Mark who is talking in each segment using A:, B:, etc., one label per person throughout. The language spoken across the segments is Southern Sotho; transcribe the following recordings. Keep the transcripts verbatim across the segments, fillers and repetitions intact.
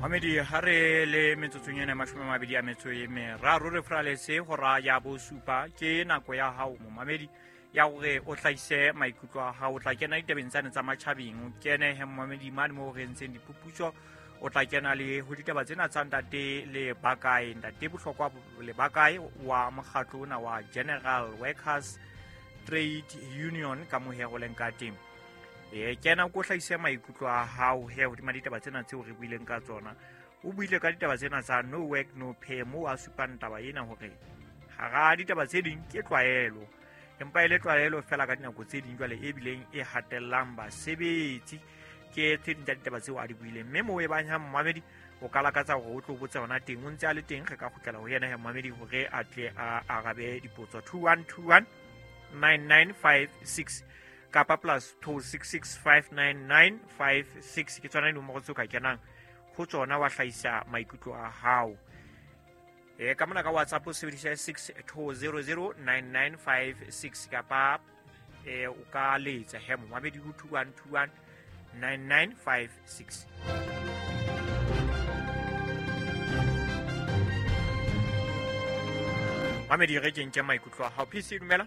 A: Mamedi ha re le metsotsong ena mashome a mabedi a metso e meraro re fraletse hora ya bosupa ke nako ya hao momamedi ya hore o hlahise maikutlo a hao. O tla kena ditabeng tsane tsa matjhabeng, o kene he momamedi mane moo re entseng diphuputso, o tla kena le ho ditaba tsena tsa ntate le bakae, ntate Bohlokwa le bakae wa mokgatlo ona wa General Workers Trade Union ka mohero leng ka teng. E kena ko hlahise maikutlo a hao he hodima ditaba tsena tseo re buileng ka tsona. O buile ka ditaba tsena tsa no work no pay, moo a supang taba ena hore hara ditaba tse ding ke tlwaelo, empa e le tlwaelo fela ka dinako tse ding jwale e bileng e hatellang basebetsi. Ke tse ding tsa ditaba tseo a di buileng, mme moo e bang ha momamedi o ka lakatsa hore o tlo botsa yona teng, o ntse a le teng, re ka kgutlela ho yena he momamedi hore a tle a arabe dipotso. Two one two one nine nine five six kapa plus two six six five nine nine five six ke tsona dinomoro tseo ka kenang ho tsona wa hlahisa maikutlo a hao. E ka mona ka WhatsApp o sebedisa six two zero zero nine nine five six kapa e o ka letsa he momamedi ho two one two one nine nine five six. Mamedi re ke nke maikutlo a hao. P C dumela.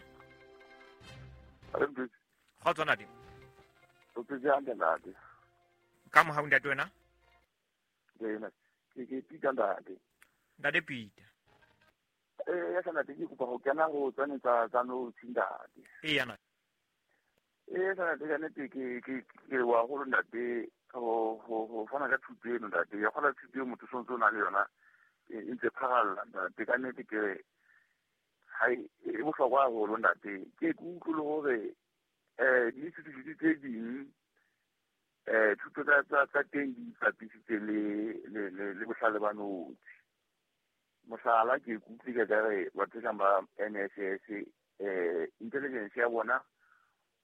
A: Kgotso ntate.
B: O phetse hantle ntate.
A: Ka mohau ntate wena?
B: Ke ke ke Peter ntate.
A: Ntate Peter.
B: Eh ya ntate ke kopa ho kena ho tsane tsa tsa no ntate.
A: Eya na.
B: Eh ntate ka nnete ke ke ke wa holo ntate ho ho ho fana ka thuto eno ntate. Ya kgola thuto eo motho sontso o na le yona e ntse pharalla ntate. Ka nnete ke re ha e bohlokwa haholo ntate. Ke ke utlwe le hore eh di-institute tse ding eh thuto tsa tsa tsa teng di ipapisitse le le le le bohlale ba notshi. Mohlala ke ikutlwe ka re batho kang ba N S S eh intelligence ya bona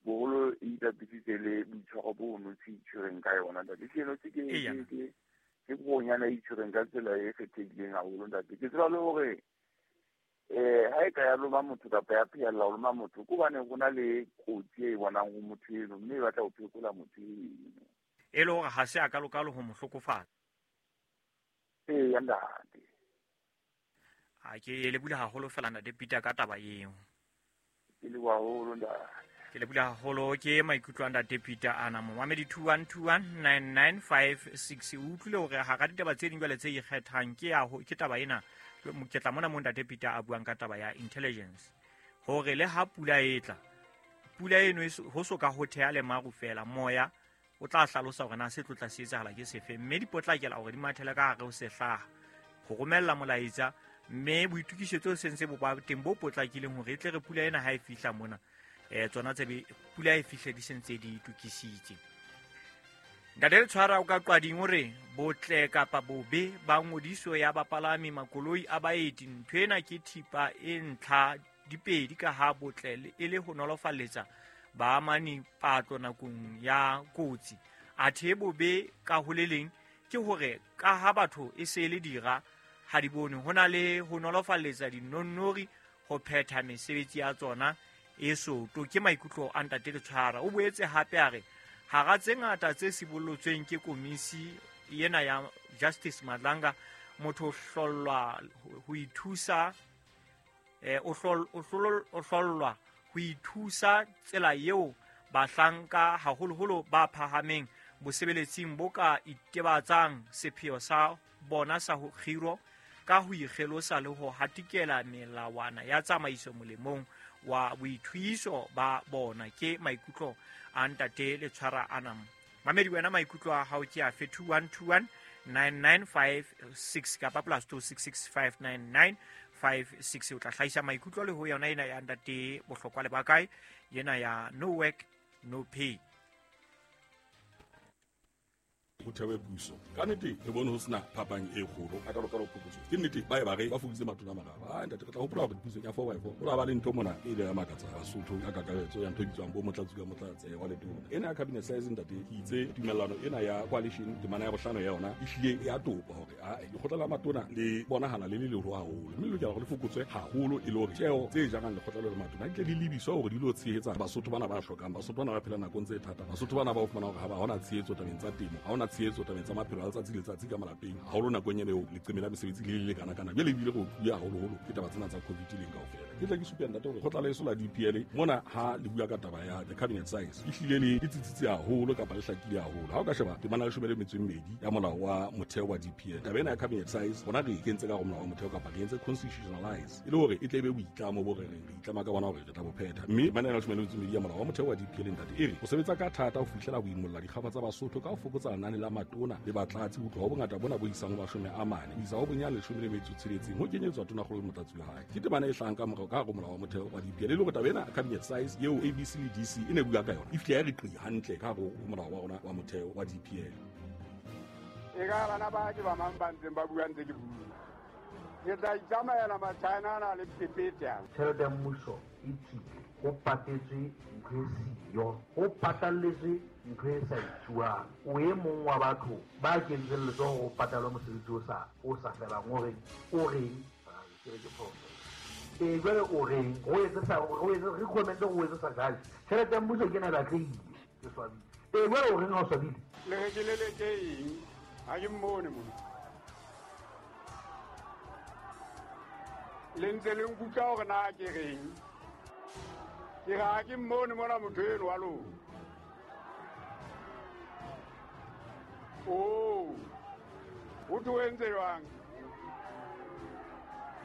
B: boholo e ipapisitse le boitshwaro bo notshi itshwereng ka yona ntate. Seno se ke ke ke bonyana e itshwereng ka tsela e kgethehileng haholo ntate. Ke tseba le hore eh ha e ka ya loma motho kapa ya phehella ho loma motho ke hobane ho na le kotsi e bonang ho motho eno, mme e batla ho phekola motho eno.
A: E le hore ha se a kalokalo ho mo hlokofatsa.
B: Eya ntate.
A: A ke le bula haholo fela ntate Peter ka taba eo.
B: Ke le haholo ntate.
A: Ke le bula haholo ke maikutlo a ntate Peter ana. Momamedi two one two one nine nine five six o utlwile hore hara ditaba tse ding jwale tse ikgethang ke ya ke taba ena. Ke tla mona mo ntate Peter a buang ka taba ya intelligence hore le ha pula e tla, pula eno ho so ka ho theha le maru fela, moya o tla hlalosa hore na se tlo tla se etsahala ke sefe, mme di potlakela hore di mathele ka hare ho sehlaha ho romella molaetsa, mme boitokisetso se ntse bo ba teng bo potlakileng hore e tle re pula ena ha e fihla mona eh tsona tse pula e fihle di sentse di itokisitse. Ntate Letshwara o ka qwading hore botle kapa bobe ba ngodiso ya bapalami makoloi a baeti, ntho ena ke thipa e ntlha dipedi ka ha botle e le ho nolofaletsa baamani patlo nakong ya kotsi. Athe bobe ka ho le leng ke hore ka ha batho e se le dira ha di bone ho na le ho nolofaletsa dinonnori ho phetha mesebetsi ya tsona e soto. Ke maikutlo a ntate Letshwara. O boetse hape a re hara tse ngata tse sibollotsweng ke komisi ena ya Justice Madlanga, motho o hlollwa ho ithusa eh o hlollwa ho ithusa tsela eo bahlanka haholoholo ba phahameng bosebeletsing bo ka itebatsang sepheo sa bona sa ho kgiro ka ho ikgelosa le ho hatikela melawana ya tsamaiso molemong wa boithuiso ba bona. Ke maikutlo a ntate Letshwara ana. Mamedi wena maikutlo a hao ke afe? Two one two one nine nine five six kapa plus two six six five nine nine five six. O tla hlahisa maikutlo le ho yona ena ya ntate Bohlokwa le bakae yena ya no work no pay.
C: Ho thewe puso ka nnete re bone ho sena phapang e kgolo a ka lokalo phokotso ke nnete ba e ba re ba fokoditse matona a mararo. A ntate re tla hopola hore puso ya four by four ho la ba le ntho mona e ile ya makatsa Basotho ka kakaretso ya ntho e bitswang bo motlatsi ka motlatse wa letona ena ya cabinet size ntate ke itse tumellano ena ya coalition temana ya bohlano ya yona e hlile e a topa hore a lekgotla la matona le bonahala le le leholo haholo mme le lokela hore le fokotswe haholo e le hore tjeo tse jarang lekgotla le matona di tle di lebiswa hore di lo tshehetsa Basotho bana ba hlokang, Basotho bana ba phela nakong tse thata, Basotho bana ba o fumana hore ha ba hona tshehetso tabeng tsa temo, ha hona tshehetso tabeng tsa maphelo a letsatsi le letsatsi ka malapeng haholo nakong ena eo leqeme la mesebetsi le le lekana-kana jwale ebile re otluwe haholoholo ke taba tsena tsa COVID leng kaofela. Ke tla ke supe ntate hore kgotla leso la D P L mona ha le bua ka taba ya the cabinet size e hlile le e tsitsitse haholo kapa le hlakile haholo. Ha o ka sheba temana ya leshome le metso e mmedi ya molao wa motheo wa D P L, taba ena ya cabinet size rona re e kentse ka hare ho molao wa motheo kapa re entse constitutionalize e le hore e tle e be boitlamo bo re reng re itlama ka bona hore re tla bo phetha. Mme temana ya leshome le metso e mmedi ya molao wa motheo wa D P L ntate e re o sebetsa ka thata ho fihlela ho imolla dikgafa tsa Basotho ka ho fokotsa lenane la matona le batlatsi ho tloha ho bongata bona bo isang ho mashome a mane ho isa ho bonyane leshome le metso e tsheletseng ho kenyetswa tonakgolo le motlatsi wa hae. Ke temana e hlahang ka morao ka hare ho molao wa motheo wa D P L e le hore taba ena cabinet size eo A B C le D C e ne bua ka yona e fihle ya re qi hantle ka hare ho molao wa rona wa motheo wa D P L.
D: E ka bana ba ke ba mang ba ntseng ba bua ntse ke bua. Ke tla itsamaela Machina ana le phephetsa.
E: Tjhelete ya mmuso e tswile, ho patetswe ntho e siyo, ho patalletswe ntho e sa etsuwang. O e mong wa batho ba kentseng letsoho ho patalwa mosebetsi o sa o sa felang, o reng o reng ke re ke phoso. E jwale o reng o etse sa o etse re comment o etse sa judge. Tjhelete ya mmuso ke ena e batlehile, ke swabile. E jwale o reng ha o swabile?
D: Le re ke leleke eng? Ha ke mmone mona. Le ntse le nkutlwa hore na ke reng? Ke re ha ke mmone mona motho eno wa lona. Oh, ho thwe o entse jwang?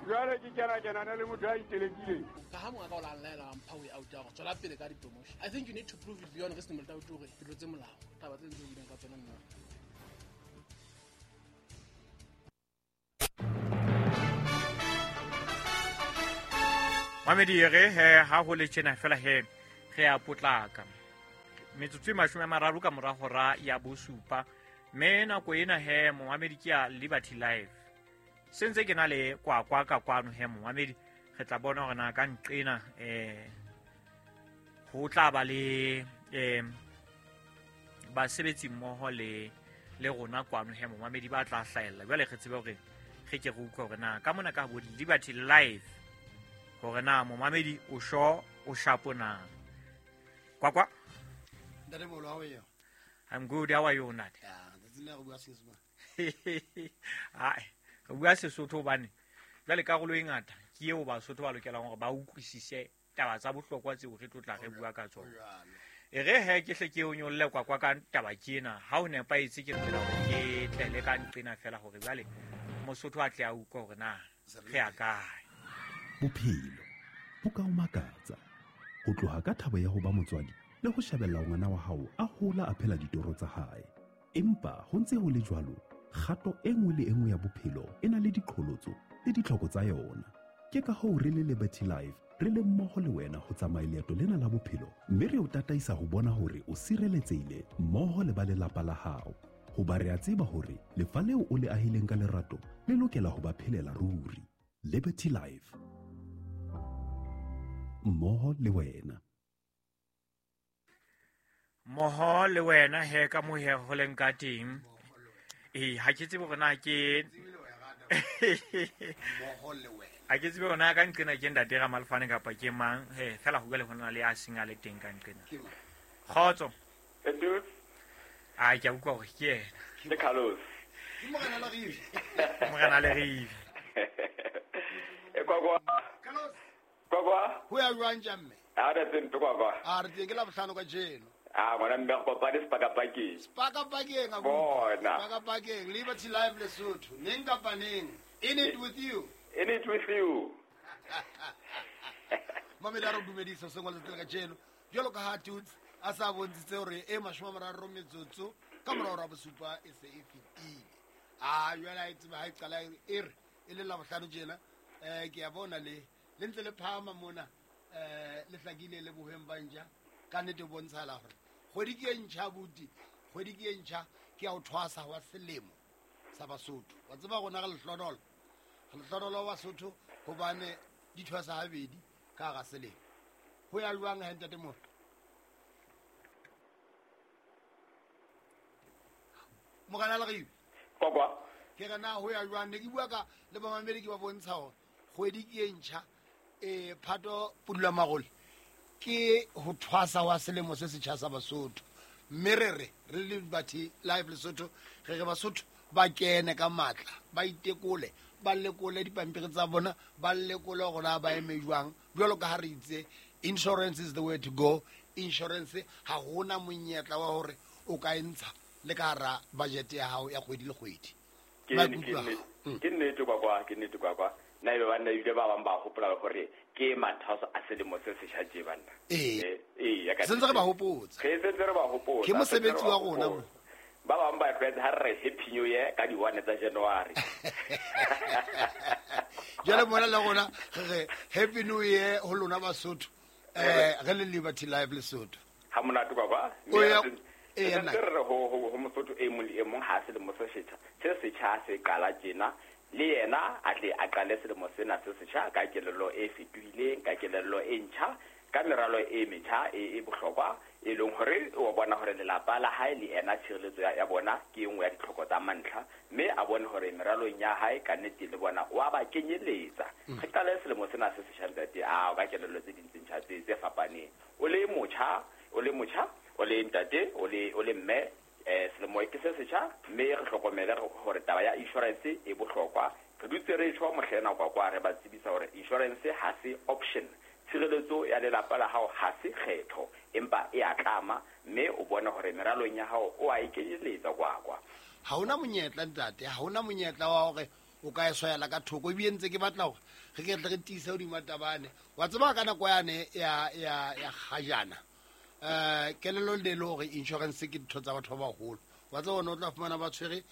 D: Jwale ke kena kenana le motho a itelekileng.
F: Ka ha monga ka o la nlaela wa mpha way out ya hore tswela pele ka di-promotion. I think you need to prove it beyond reasonable doubt hore ke tlotse molao. Taba tse ntse o buileng ka tsona nna.
A: Mamedi re he ha ho le tjena fela he re a potlaka. Metsotso e mashome a mararo ka mora hora ya bosupa. Mme nako ena he momamedi ke ya Liberty Live. Se ntse ke na le kwakwa ka kwano he momamedi re tla bona hore na ka nqena eh ho tla ba le eh basebetsi mmoho le le rona kwano he momamedi ba tla hlahella. Jwale re tsebe hore re ke re utlwe hore na ka mona ka bo Liberty Live hore na momamedi o sho o shapo na. Kwakwa.
G: Ntate Bolo, how are you?
A: I'm good, how are you ntate?
G: Yeah, tsatsing le re bua Senyesemane.
A: Ai, re bua Sesotho hobane jwale karolo e ngata ke eo Basotho ba lokelang hore ba utlwisise taba tsa bohlokwa tseo re tlo tla re bua ka tsona. E re he ke hle ke o nyolle kwakwa ka taba ke ena ha o nepahetse ke lokela hore ke tlele ka nqena fela hore jwale Mosotho a tle a utlwe hore na re a kae.
H: Bophelo bo ka o makatsa ho tloha ka thabo ya ho ba motswadi le ho shebella ngwana wa hao a hola a phela ditoro tsa hae. Empa ho ntse ho le jwalo, kgato e nngwe le e nngwe ya bophelo e na le diqholotso le ditlhoko tsa yona. Ke ka hoo re le Liberty Life re le mmoho le wena ho tsamaya leeto lena la bophelo, mme re o tataisa ho bona hore o sireletsehile mmoho le ba lelapa la hao. Hoba re a tseba hore lefa leo o le ahileng ka lerato le lokela ho ba phelela ruri. Liberty Life, mmoho le wena.
A: Mmoho le wena he ka mo he ho leng ka teng. Eh ha ke tsebe hore na ke
G: mmoho le wena.
A: Ha ke tsebe hore na ka nqena ke ntate Ramalefane kapa ke mang he fela ho bua le hona le a seng a le teng ka nqena. Kgotso.
I: Edu.
A: A ke a utlwa hore ke yena.
I: Ke Carlos.
G: Ke morena le Rive.
A: Morena le Rive.
I: E kwa kwa.
G: Carlos.
I: Kwa kwa.
G: Ho ya jwang tjamme?
I: Ha re teng kwa kwa.
G: A re teng ke la bohlano ka jeno.
I: Ah, ngwana mme go kopane sepakapakeng.
G: Sepakapakeng a
I: bona.
G: Sepakapakeng, Liberty Live Lesotho. Neng kapa neng. In it with you.
I: In it with you.
G: Mamedi a re dumedisa sengwe le tsela ka jeno. Jwalo ka ha Tuts a sa bontshitse hore e mashome a mararo metsotso ka morao ra bosupa e se e fetile. Ah, jwale ha e tseba ha e qala e re e le la bohlano tjena. Eh ke a bona le le ntse le phahama mona eh le hlakile le bohweng ba ntja. Ka nnete bontshala hore kgwedi ke e ntjha buti, kgwedi ke e ntjha ke ya ho thwasa wa selemo sa Basotho. Wa tseba rona re lehlonolo, re lehlonolo wa Basotho hobane di thwasa habedi ka hara selemo. Ho ya jwang he ntate mo? Morena Leribe.
I: Kwa kwa.
G: Ke re na ho ya jwang? Ne ke bua ka le bamamedi ke ba bontsha hore kgwedi ke e ntjha eh Phato Pudula Marole ke ho thwasa wa selemo se setjha sa Basotho. Mme re re re le Liberty Life Lesotho re re Basotho ba kene ka matla ba itekole ba lekole dipampiri tsa bona ba lekole gore na ba eme jwang jwalo ka ha re itse insurance is the way to go. Insurance ha hona monyetla wa hore o ka e ntsha le ka hara budget ya hao ya kgwedi le kgwedi.
I: Ke ke nnete kwa kwa ke nnete kwa kwa nna ebe banna ebile ba bang ba hopola hore ke mathaso a selemo se setjha tje banna.
G: Ee
I: ee ya ka
G: sentse re ba hopotsa
I: re sentse re ba hopotsa
G: ke mosebetsi wa rona mo.
I: Ba bang ba tlwaetse ha re happy new year ka di one tsa January.
G: Jwale mona le rona re re happy new year ho lona Basotho eh re le Liberty Life Lesotho.
I: Ha monate kwa kwa
G: e
I: nna re ho ho Mosotho e mong le e mong ha selemo se setjha se setjha se qala tjena le yena a tle a qale selemo sena se setjha ka kelello e fetohileng ka kelello e ntjha ka meralo e metjha e e bohlokwa e leng hore o bona hore lelapa la hae le ena tshireletso ya bona ke engwe ya ditlhoko tsa mantlha mme a bone hore meralong ya hae ka nnete le bona wa ba kenyeletsa. Re qale selemo sena se setjha ntate a ka kelello tse ding tse ntjha tse tse fapaneng. O le motjha o le motjha o le ntate o le o le mme eh selemo ke se setjha mme re hlokomele hore taba ya insurance e bohlokwa. Re dutse re tjho mohlena kwa kwa re ba tsebisa hore insurance ha se option. Tshireletso ya lelapa la hao ha se kgetho empa e a tlama mme o bone hore meralong ya hao o a ikenyeletsa kwa kwa.
G: Ha hona monyetla ntate, ha hona monyetla wa hore o ka e swayela ka thoko ebile ntse ke batla hore re ke tle re tiise hodima tabane. Wa tseba ka nako yane ya ya ya kgajana eh kelello le le hore insurance ke ditho tsa batho ba baholo. Wa tseba ona o tla fumana ba tshwere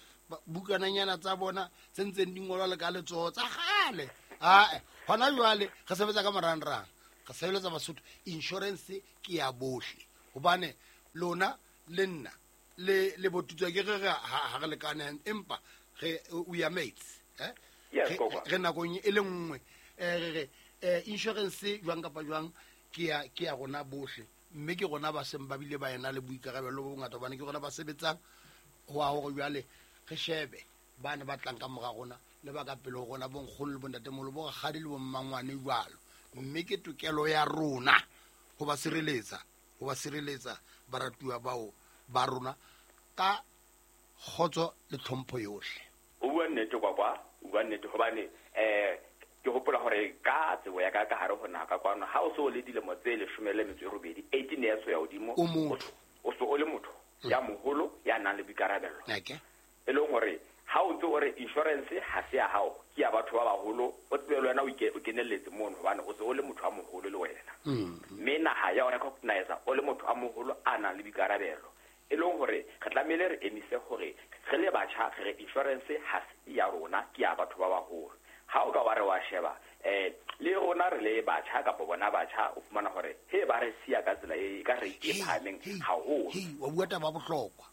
G: bukananyana tsa bona tse ntseng di ngolwa le ka letsoho tsa kgale. Ae hona jwale re sebetsa ka marangrang re sebeletsa Basotho. Insurance ke ya bohle hobane lona le nna le le botutswa ke re ha re lekane empa re we are mates eh re nakong e le nngwe re re insurance jwang kapa jwang ke ya ke ya rona bohle mme ke rona ba seng ba bile ba ena le boikarabelo bo bongata hobane ke rona ba sebetsang ho a hore jwale re shebe bana ba tlang ka mora rona le ba ka pele ho rona bonkgono le bontatemoholo bo rakgadi le bommangwane jwalo mme ke tokelo ya rona ho ba sireletsa ho ba sireletsa baratuwa bao ba rona ka kgotso le tlhompho yohle.
I: O bua nnete kwa kwa o bua nnete hobane eh ke hopola hore ka tsebo ya ka ka hare ho naha ka kwano ha o so le dilemo tse leshome le metso e robedi eighteen years ho ya hodimo
G: o motho
I: o so o le motho ya moholo ya nang le boikarabelo.
G: Okay.
I: E leng hore ha o ntse o re insurance ha se ya hao ke ya batho ba baholo o tsebe le wena o kenelletse mono hobane o se o le motho a moholo le wena. Mme naha ya o recognize o le motho a moholo a nang le boikarabelo e leng hore re tlamehile re emise hore re le batjha re insurance ha se ya rona ke ya batho ba baholo. Ha o ka wa re wa sheba eh le rona re le batjha kapa bona batjha o fumana hore he ba re siya ka tsela e ka rate e phahameng haholo.
G: Wa bua taba bohlokwa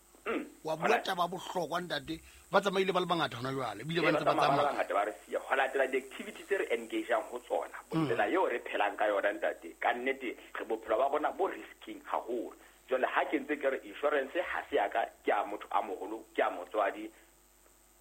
G: wa bua taba bohlokwa ntate ba tsamaile ba le bangata hona jwale ebile ba ntse ba tsamaya
I: bangata ba re siya ho latela di-activity tse re engageang ho tsona tsela eo re phelang ka yona ntate ka nnete re bophelo ba rona bo risking haholo. Jwale ha ke ntse ke re insurance ha se ya ka ke ya motho a moholo ke ya motswadi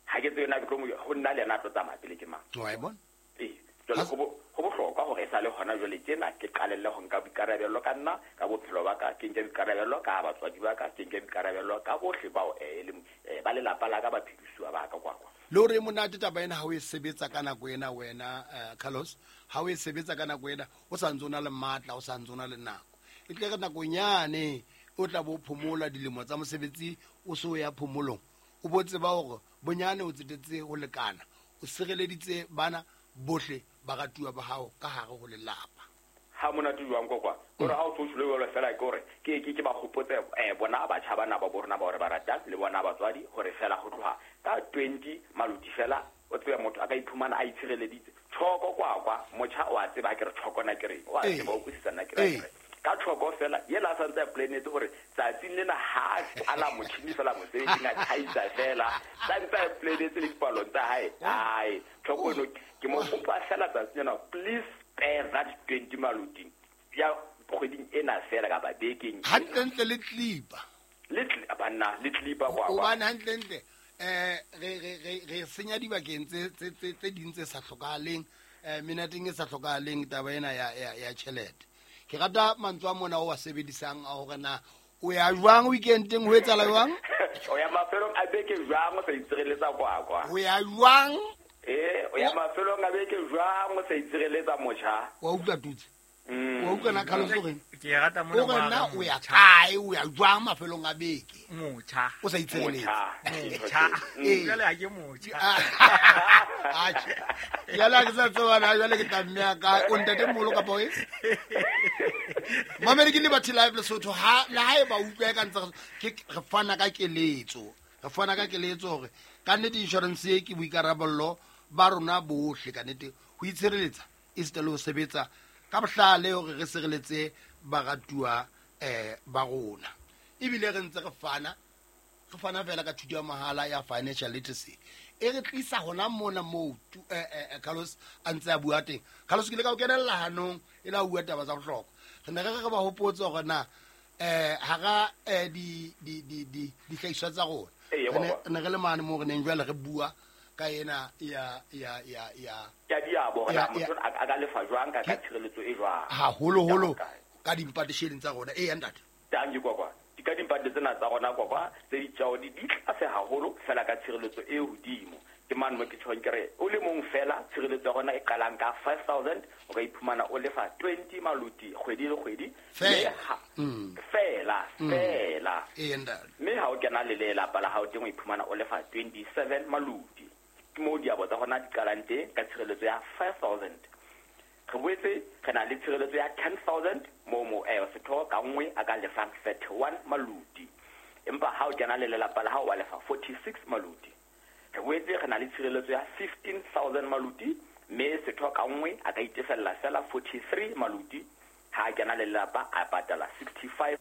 I: ha ke tsebe na ke tlo mo ho nna le yena a tlo tsamaya pele ke mang.
G: Wa e bona?
I: Ee jwale ho ho bohlokwa hore e sale hona jwale tjena ke qalelle ho nka boikarabelo ka nna ka bophelo ba ka ke nke boikarabelo ka batswadi ba ka ke nke boikarabelo ka bohle bao e leng ba lelapa la ka ba phedisuwa ba ka kwa kwa.
G: Le hore monate taba ena ha o e sebetsa ka nako ena wena Carlos ha o e sebetsa ka nako ena o sa ntse o na le matla o sa ntse o na le nako e tle re nakonyane o tla bo phomola dilemo tsa mosebetsi o so ya phomolong o bo tseba hore bonyane o tsetetse ho lekana o sireleditse bana bohle ba ratuwa ba hao ka hare ho lelapa.
I: Ha monate jwang kwa kwa hore ha o tsholo jwalo fela ke hore ke ke ke ba hopotse eh bona batjha bana ba borona ba hore ba ratang le bona batswadi hore fela ho tloha ka twenty maluti fela o tsebe motho a ka iphumana a itshireleditse tshoko kwa kwa motjha o a tseba ke re tshoko na ke re o a tseba o kwisisa nna ke re ka tshoko fela yela a santse a planetse hore tsatsing lena ha a la motjhini fela mosebetsing a thaisa fela santse a planetse le dipalong tsa hae ai tshoko eno ke mo kopa fela tsatsing lena please spare that twenty maluti ya kgweding ena fela kapa bekeng
G: hantlentle le clipa
I: le banna le clipa kwa kwa
G: hobane hantlentle eh re re re re senya dibakeng tse tse tse ding tse sa hlokahaleng eh menateng e sa hlokahaleng taba ena ya ya ya tjhelete. Ke rata mantswe a mona o wa sebedisang a hore na O ya jwang weekendeng ho etsahala jwang?
I: O ya mafelong a beke jwang o sa itshireletsa kwakwa?
G: O ya jwang?
I: Eh, o ya mafelong a beke jwang o sa itshireletsa motjha?
G: Wa utlwa tutse. Wa utlwa na Carlos o reng?
A: Ke rata mona
G: o re na o ya kae, o ya jwang mafelong a beke?
A: Motjha.
G: O sa itshireletsa.
A: Motjha. Jwale ha ke motjha.
G: Atjhe. Jwale ha ke sa tseba na jwale ke tla mme ka o ntate moholo kapa o e? Mamedi ke Liberty Live Lesotho ha le ha e ba utlwa ka ntse ke re fana ka keletso. Re fana ka keletso hore ka nnete insurance e ke boikarabello ba rona bohle ka nnete ho itshireletsa esita le ho sebetsa ka bohlale hore re sireletse baratuwa eh ba rona. Ebile re ntse re fana re fana fela ka thuto ya mahala ya financial literacy e re tlisa hona mona moo eh Carlos a ntse a bua teng. Carlos ke ile ka o kenella hanong e la bua taba tsa bohlokwa. Re ne re re ba hopotse hore na eh hara di di di di dihlahiswa tsa rona ne re le mane mo re neng jwale re bua ka ena ya ya ya ya
I: ya diabo hore motho a ka lefa jwang ka ka tshireletso e jwang
G: haholoholo ka dimpatisheng tsa rona. E ya ntate
I: tangi kwakwa di ka dimpate tsena tsa rona kwakwa tse ditjao di di tlase haholo fela ka tshireletso e hodimo. Ke mane mo ke tjhong ke re o le mong fela tshireletso ya rona e qalang ka five thousand o ka iphumana o lefa twenty maluti kgwedi le kgwedi fela fela. Mme ha o kena le lelapa la hao teng o iphumana o lefa twenty-seven maluti. Ke moo diabo tsa rona di qalang teng ka tshireletso ya five thousand. Re boetse re na le tshireletso ya ten thousand moo mo eh setho ka nngwe a ka lefang thirty-one maluti. Empa ha o kena le lelapa la hao wa lefa forty-six maluti. Re boetse re na le tshireletso ya fifteen thousand maluti mme setho ka nngwe a ka itefella fela forty-three maluti. Ha a kena le lelapa a patala sixty-five.